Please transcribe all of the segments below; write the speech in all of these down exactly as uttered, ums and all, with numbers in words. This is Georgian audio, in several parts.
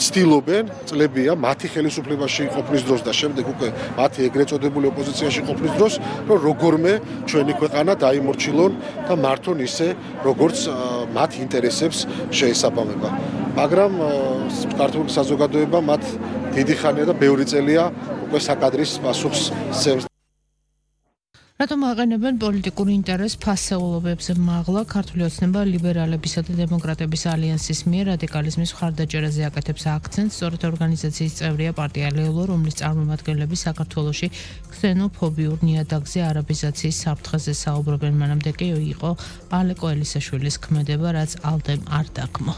ცდილობენ წლებია მათი ხელისუფლებაში ყოფნის დროს და შემდეგ უკვე მათი ეგრეთ წოდებული ოპოზიციაში ყოფნის დროს, რომ როგორმე ჩვენი ქვეყანა დაიმორჩილონ და მართონ ისე, როგორც მათ ინტერესებს შეესაბამება. მაგრამ ქართული საზოგადოება მათ დიდი ხანია და ბევრი წელია უკვე საკადრის პასუხს სცემს. რატომ აყენებენ პოლიტიკურ ინტერესს ფასეულობებზე მაღლა ქართული ოცნება ლიბერალებისა და დემოკრატების ალიანსის მიერ რადიკალიზმის მხარდაჭერაზე აკეთებს აქცენტს, სწორედ ორგანიზაციის წევრია პარტია ლეულო, რომლის წარმომადგენლები საქართველოში ქსენოფობიურ ნიადაგზე არაბიზაციის საფრთხეზე საუბრობენ, მანამდე კი იყო ალეკო ელისაშვილის ქმედება, რაც ალდემ არ დაგმო.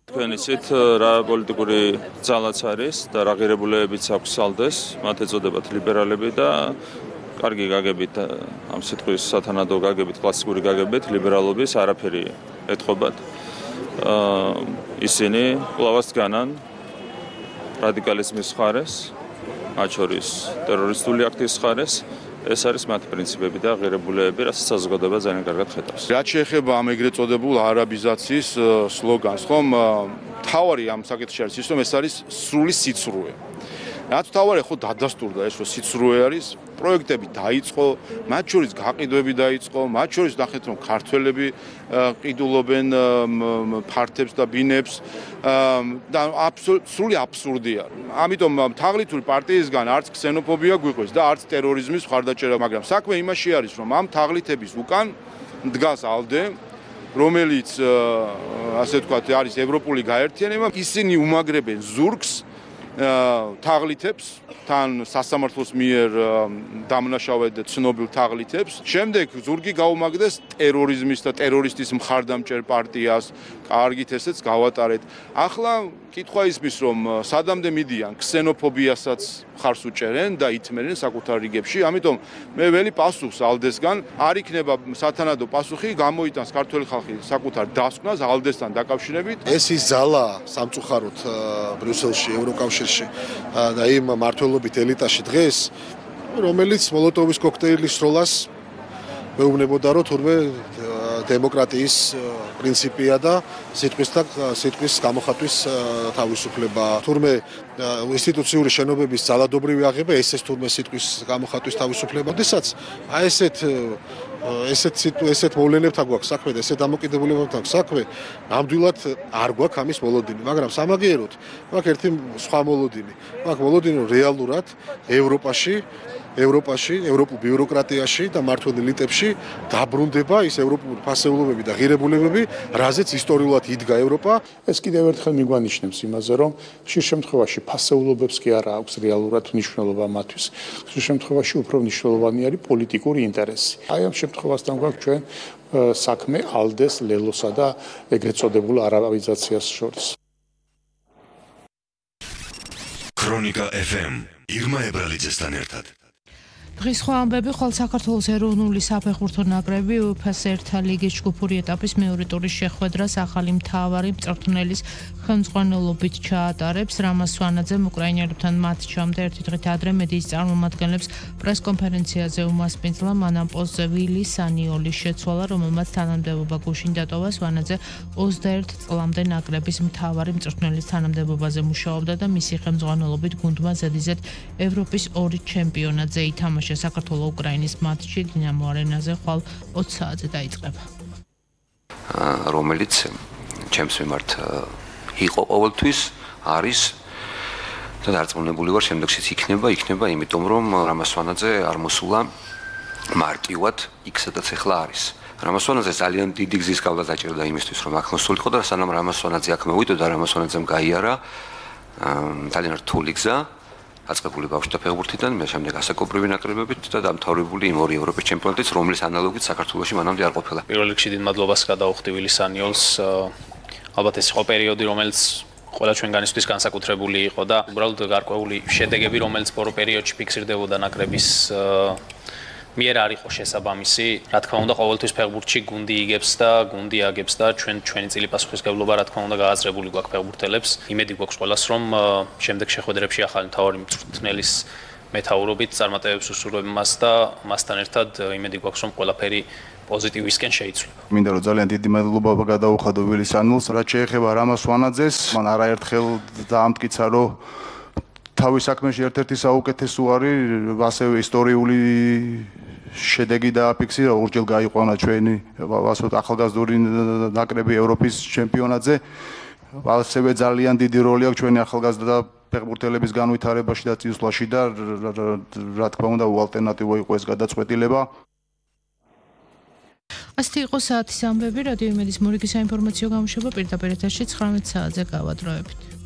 თქვენ იცით რა პოლიტიკური ძალაც არის და რა ღირებულებებიც აქვს ალდეს, მათ ეწოდებათ ლიბერალები და კარგი გაგებით ამ სიტყვის სათანადო გაგებით, კლასიკური გაგებით ლიბერალობის არაფერი ეთყობათ. ისინი კვლავაც განან რადიკალიზმის ხარეს, მათ შორის ტერორისტული აქტის ხარეს. ეს არის მათი პრინციპები და ღირებულებები, რასაც საზოგადოება ძალიან კარგად ხედავს. რაც შეეხება ამ ეგრეთ წოდებულ არაბიზაციის სლოგანს, ხომ თავარი ამ საკითხში არის ის, რომ ეს არის სრული სიცრუე. რაც თავარი ხო დადასტურდა ეს, რომ სიცრუე არის, პროექტები დაიწყო, მათ შორის გაყიდვები დაიწყო, მათ შორის ნახეთ, რომ ქართველები ყიდულობენ ფართებს და ბინებს და სრული აბსურდი არის. ამიტომ თაღლითური პარტიისგან არც ქსენოფობია გვიყვეს და არც ტერორიზმის მხარდაჭერა, მაგრამ საქმე იმაში არის, რომ ამ თაღლითების უკან დგას ალდე, რომელიც ასე ვთქვათ, არის ევროპული გაერთიანება, ისინი უმაგრებენ ზურგს თაღლითებს, თან სასამართლოს მიერ დამნაშავედ ცნობილ თაღლითებს. შემდეგ ზურგი გაუმაგდეს ტერორიზმის და ტერორისტის მხარდამჭერ პარტიას. კარგით, ესეც გავატარეთ. ახლა კითხვა ისმის, რომ სადამდე მიდიან ქსენოფობიასაც მხარს უჭერენ და ითმერენ საკუთარ რიგებში. ამიტომ მე ველი პასუხს ალდესგან არ იქნება სათანადო პასუხი, გამოიტანს ქართველი ხალხი საკუთარ დასკვნას ალდესთან დაკავშირებით. ეს ის ძალა სამწუხაროდ ბრიუსელში, ევროკავშირში და იმ მმართველობით ელიტაში დღეს, რომელიც მოლოტოვის კოქტეილის როლას მეუბნებოდა, რომ თურმე დემოკრატიის პრინციპია და სიტყვის და სიტყვის გამოხატვის თავისუფლება. თურმე ინსტიტუციური შენობების ძალადობრივი აღება, ესეც თურმე სიტყვის გამოხატვის თავისუფლება. როდესაც აი ესეთ ესეთ ესეთ მოვლენებთან გვაქვს საქმე და ესეთ დამოკიდებულებებთან საქმე, ნამდვილად არ გვაქვს ამის მოლოდინი, მაგრამ სამაგიეროდ გვაქვს ერთი სხვა მოლოდინი. გვაქვს მოლოდინი, რომ რეალურად ევროპაში ევროპაში, ევროპულ ბიუროკრატიაში და მმართველ ელიტებში დაბრუნდება ის ევროპული ფასეულობები და ღირებულებები, რაზეც ისტორიულად იდგა ევროპა. ეს კიდევ ერთხელ მიგვანიშნებს იმაზე, რომ ხშირ შემთხვევაში ფასეულობებს კი არა აქვს რეალურად მნიშვნელობა მათთვის. ხშირ შემთხვევაში უფრო მნიშვნელოვანი არის პოლიტიკური ინტერესი. აი ამ შემთხვევასთან გვაქვს ჩვენ საქმე ალდეს, ლელოსა და ეგრეთ წოდებულ არაბიზაციას შორის. ქრონიკა ეფ ემ ირმა ებრალიძესთან ერთად. დღის სხვა ამბები, ხოლო საქართველოს ეროვნული საფეხბურთო ნაკრები უეფა-ს ერთა ლიგის ჯგუფური ეტაპის მეორე ტურის შეხვედრას ახალი მთავარი მწვრთნელის ხელმძღვანელობით ჩაატარებს. რამაზ სვანაძემ უკრაინელებთან მატჩამდე ერთი დღით ადრე მედიის წარმომადგენლებს პრესკონფერენციაზე უმასპინძლა მან ამ პოსტზე ვილი სანიოლის შეცვალა, რომელმაც თანამდებობა გუშინ დატოვა. სვანაძე ოცდაერთ წლამდე ნაკრების მთავარი მწვრთნელის თანამდებობაზე მუშაობდა და მისი ხელმძღვანელობით გუნდმა ზედიზედ ევროპის ორი ჩემპიონატზე ითამაშა. საქართველოს-უკრაინის მატჩი დინამო არენაზე ხვალ ოცი საათზე დაიწყება. რომელიც ჩემს მიმართ იყო ყოველთვის, არის და დარწმუნებული ვარ შემდეგშიც იქნება, იქნება, იმიტომ რომ რამაზ სვანაძე არ მოსულა მარტივად იქ სადაც ახლა არის. რამაზ სვანაძე ძალიან დიდი გზის გავლა დაჭერდა იმისთვის, რომ აქ მოსულიყო და სანამ რამაზ სვანაძე აქ მოვიდოდა, რამაზ სვანაძემ გაიარა ძალიან რთული გზა. აწყებული ბავშვთა ფეხბურთიდან, მე შემდეგ ასაკობრივი ნაკრებებით და დამთავრებული იმ ორი ევროპის ჩემპიონატით, რომლის ანალოგიც საქართველოში მანამდე არ ყოფილა. პირველ რიგში დიდ მადლობას გადაუხდი ვილი სანიოლს. ალბათ ეს იყო პერიოდი, რომელიც ყველა ჩვენგანისთვის განსაკუთრებული იყო და უბრალოდ გარკვეული შედეგები, რომელიც პორო პერიოდში ფიქსირდებოდა ნაკრების მიერ არ იყო შესაბამისი. რა თქმა უნდა, ყოველთვის ფეხბურთში გუნდი იგებს და გუნდი აგებს და ჩვენ ჩვენი წილი პასუხისმგებლობა რა თქმა უნდა გააზრებული გვაქვს ფეხბურთელებს. იმედი გვაქვს ყველას, რომ შემდეგ შეხვედრებში ახალი მთავარი მწვრთნელის მეთაურობით წარმატებებს უსურვებ მას და მასთან ერთად იმედი გვაქვს, რომ ყველაფერი პოზიტივისკენ შეიცვლება. მინდა რომ ძალიან დიდი მადლობა გადაუხადო ვილის ანულს, რაც შეეხება რამას ვანაძეს, მან არაერთხელ დაამტკიცა, რომ თავის საქმეში ერთ-ერთი საუკეთესო არის, ასევე ისტორიული შედეგი დააფიქსირა, ორჯერ გაიყვანა ჩვენი ასე ახალგაზრდული ნაკრები ევროპის ჩემპიონატზე. ასევე ძალიან დიდი როლი აქვს ჩვენი ახალგაზრდა ფეხბურთელების განვითარებაში და წინსვლაში და რა თქმა უნდა უალტერნატივო იყო ეს გადაწყვეტილება. ასეთი იყო საათის ამბები, რადიო იმედის მორიგი საინფორმაციო გამოშვება პირდაპირ ეთერში ცხრამეტ საათზე გავადროებით.